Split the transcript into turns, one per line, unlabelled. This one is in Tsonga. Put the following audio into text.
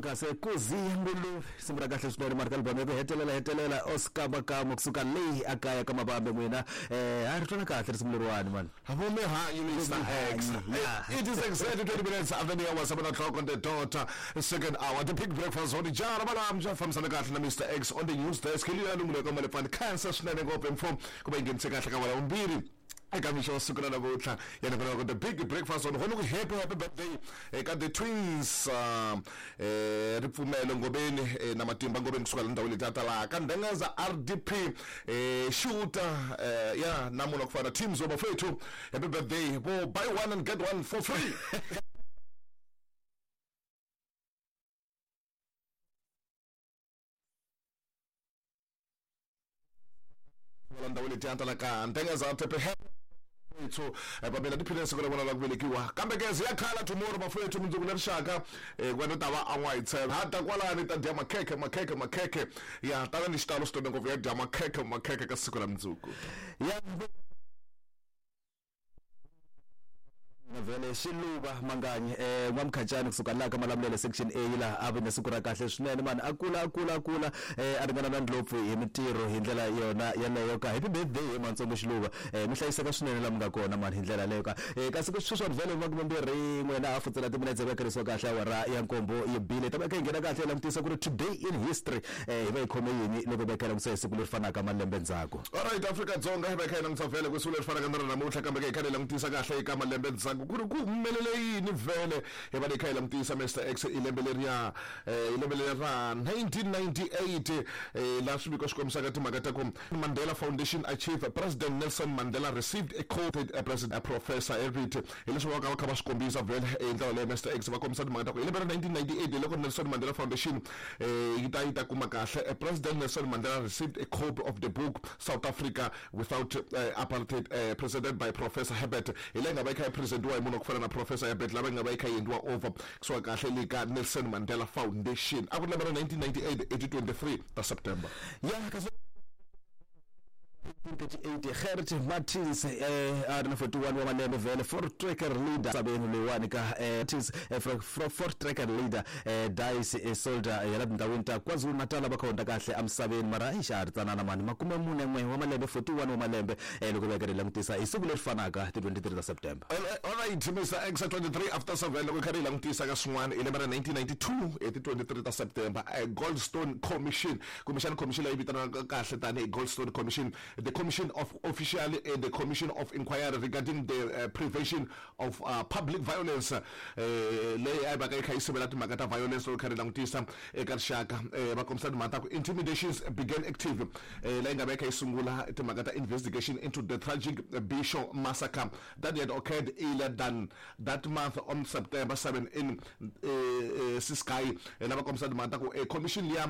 Kasi kuzi nguluve risimu ra kahle swinene mara ka album ya ku hetelela hetelela Oscar Makamo kusuka leyi a kaya ka mavambe n'wina ha ri twana kahle risimu leriwani mani.
Vumihanyi Mr X.
Yeah.
It is exactly 20 minutes after the hour, 7 o'clock on the dot, second hour. The big breakfast on the jar, Malamja, fambisana kahle na Mr X on the news desk. Hi luya lungulo ka Malefani Cancer swinene ngopfu mfo ku va yi nghenise kahle ka wala vumbirhi eka mixo wa siku ra namuntlha ya nongonoko the big breakfast on hona ku happy happy birthday eka the twins ripfumelo ngobeni na matimba ngobeni kusuka la ndhawini leti ta laha ka ndhengaza rdp xuta ya na munhu wa ku fana teams wa bafethu happy birthday vo buy one and get one for free. La ndhawu letiya ta la ka ntengeza tepe ethu va mina tiphine siku ra vona ra ku velekiwa kambe ke ya khala tomorrow bafowethu mundzuku na rixaka ku va ta va an'wa hi tshela ha ta kwalani ta dya makhekhe makhekhe makhekhe ya tana ni xitalo swinene ngopfu ya dya makhekhe makhekhe ka siku ra mundzuku.
Ya vhele xiluva manganyi n'wamkhacani kusuka laha ka Malamulele section A laha a vi na siku ra kahle swinene mani a kula a kula a kula a ringana na ndlopfu hi mintirho hi ndlela yona yaleyo ka happy birthday hi mantsongo xiluva mi hlayiseka swinene laha mi nga kona mani hi ndlela yaleyo ka kasi ku sweswiwani vhele makumembirhi n'we na hafu ntsena timinetse va kerisiwa kahle awara ya nkombo yi bile ta va kha yi nghena kahle yi langutisa ku ri today in history hi va hi khome yini loko va kha hi langutisa hi siku leri fanaka malembe ndzhaku.
Alright Afrika-Dzonga hi va hi kha hi langutisa vhele ku siku leri fanaka na ra namuntlha kambe ke hi kha hi langutisa kahle eka malembe ndzhaku ku ri ku humelele yini vhele hi va hi kha hi langutisa Mr X i lembe leriya i lembe leri ra 1998 laha swiviko swi kombisaka timhaka ta ku Mandela Foundation achieve President Nelson Mandela received a quoted President Professor Herbert hi leswi va ka va kha va swi kombisa vhele hi ndlela leyo Mr X va kombisa timhaka ta ku hi lembe ra 1998 hi loko Nelson Mandela Foundation yi ta yi ta kuma kahle President Nelson Mandela received a copy of the book South Africa Without Apartheid presented by Professor Herbert hi leyi nga va yi kha yi presentiwa hi munhu wa ku fana na Professor Herbert lava yi nga va yi kha yi endliwa over kusuka kahle le ka Nelson Mandela Foundation a ku ri lembe ra 1998 hi ti 23 ta September.
Ya kasi 1938 Gert Martins a ri na 41 wa malembe vhele Voortrekker leader sabeni loyiwani ka Martins Voortrekker leader dies a soldier ya la tindhawini ta KwaZulu-Natal va kha hundza kahle emisaveni mara eish a ha ri tsanana mani makume mune n'we wa malembe 41 wa malembe loko va karhi langutisa hi siku leri fanaka ti 23 ta September.
Alright Mr X 23 after 7 loko hi karhi hi langutisa ka swin'wana hi lembe ra 1992 hi ti 23 ta September Goldstone Commission kumbexana commission leyi vitaniwaka kahle tanihi Goldstone Commission, the Commission of officially the Commission of Inquiry regarding the Prevention of Public Violence leyi a yi vaka yi kha yi sivela timhaka ta violence loko kha ri langutisa eka rixaka va kombisa timhaka ta ku intimidations began active leyi nga va yi kha yi sungula timhaka ta investigation into the tragic Bisho massacre that had occurred earlier than that month on September 7 in Ciskei lava kombisa timhaka ta ku commission liya.